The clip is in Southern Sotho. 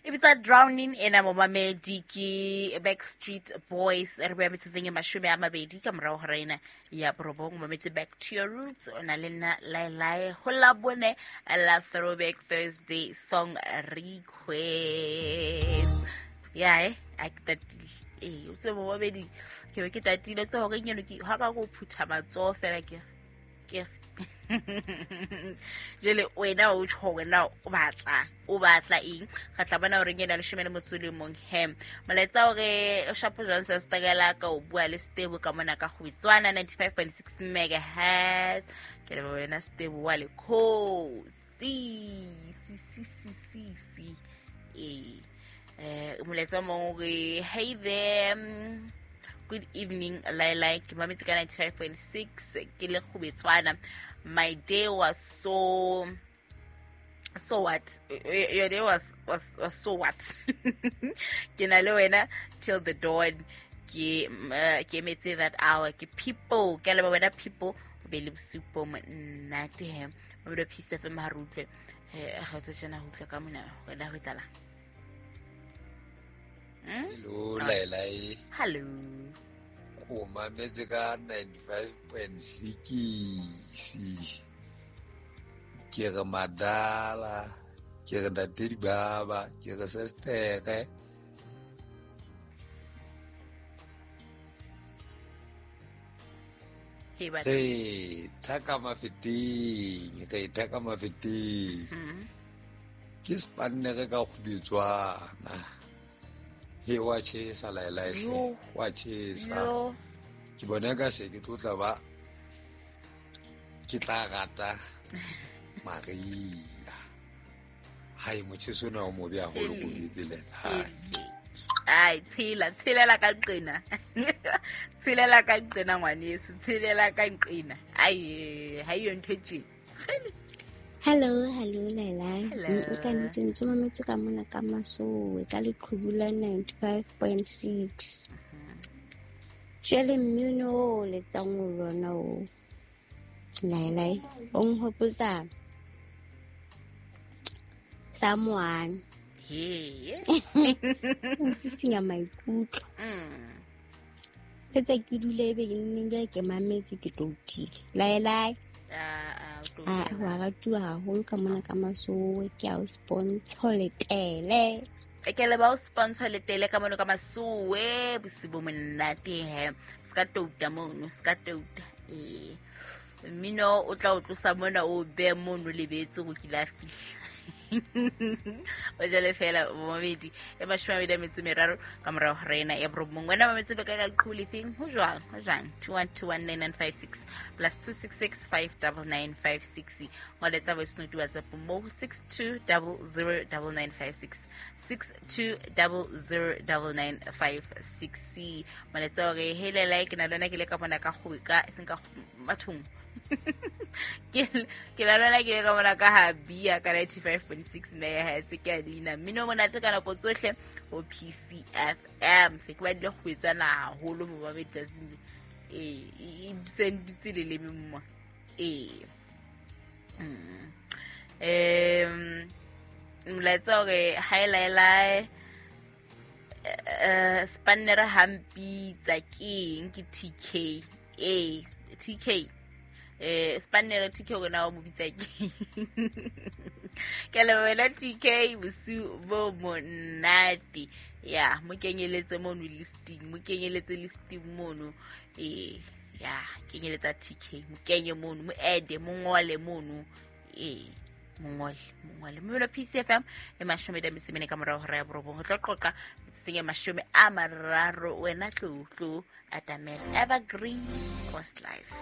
E bitsa Drowning ena momamedi ke Backstreet Boys. Re beya metsotsong e 20 ka morago ga ena ya 9. Mametse Back to Your Roots, o na le nna Laelae ho la bone la Throwback Thursday song request. Ya a ke tatile. Ee, o tsebe momamedi, ke be ke tatile tse gore nyeno ke ha ka go phutha matsoho fela ke ke jele wena o tjho wena o batla eng ga tla bona gore ngena 11 he molaetsa ore o shapo jwang sa stakela ka o bua le Stebo ka mona ka go tswana 95.6 megahertz. Ke le wena Stebo wa le si si si si si si molaetsa mong re hey there, good evening Laila, ke mametse ka 95.6 ke le Kgobetswana. My day was so what? Your day was so what? Ke na le wena till the dawn. Ke emetse that hour. Ke people, ke le wena people o be le bosupo monate he. Mabelo Peace FM ha re utlwe. Ga tse tjena ho utlwa ka mona wena ho etsala. Hello Laila. Hello. O mametse ka 95.6. Ke re madala, ke re ntate dibaba, ke re sestere. Re thaka mafeteng, re thaka mafeteng. Ke spannere ka Kgobetswana. He wa chesa Laila hle, wa chesa. Ke bona ka se ke tlotla ba ke tla rata Maria. Hai motjheso ona o mobe haholo ko betselela. Ai tshelela ka nqena. Tshelela ka nqena ngwaneso, tshelela ka nqena. Ai ha yo ntho tje. Hello, hello Laila. Ka nnete ntse mametse ka mona ka Masowe ka leqhubu la 95.6. Jwale mmino o letsang o lona o Laila o nhopotsa someone. He. Nsisinya maikutlo. Tse ke dule ebe ke nne ke mametse ke toutile. Laila. Wa ratuwa haholo ka mona ka Masowe, ke a o sponsor letele. Ke le ba o sponsor letele ka mona ka Masowe, bosiu bo monate he. Ska touta mono, ska touta. Mmino o tla o tlosa mona o be mono lebetse go kila fihla. O jale fela momedi e 23 ka morago ga rena ya 9. Wena mametse le ka ka lefeng ho jwang 21219956 plus 266 59956. Ngoletsa voice note WhatsApp mo 62009956 62009956. Moletsa hore hele like na lona ke le ka mona ka go ka seng ka bathong. Ke la lona ke le ka mona ka ha bia ka 95.6 megahertz ke a leina mmino monate ka nako tsohle ho PCFM. Se ke ba dile go etswana haholo mo ba betsatsing e sendutse le leme mma. Molaetsa hore hi Laila, spannere hampitsa ke eng ke TK. TK spannere TK rona o mo bitsa ke. Ke le wena TK bosiu bo monate. Ya mo kenyeletse mono listing, mo kenyeletse listing mono. Ya kenyeletsa TK, mo kenye mono, mo add, mo ngole mono. Mongole mmelo PCFM e 14 ka morago ga ya 9. Go tlo qoqa metsotsong e 30 wena tlo atamela Evergreen Post Life.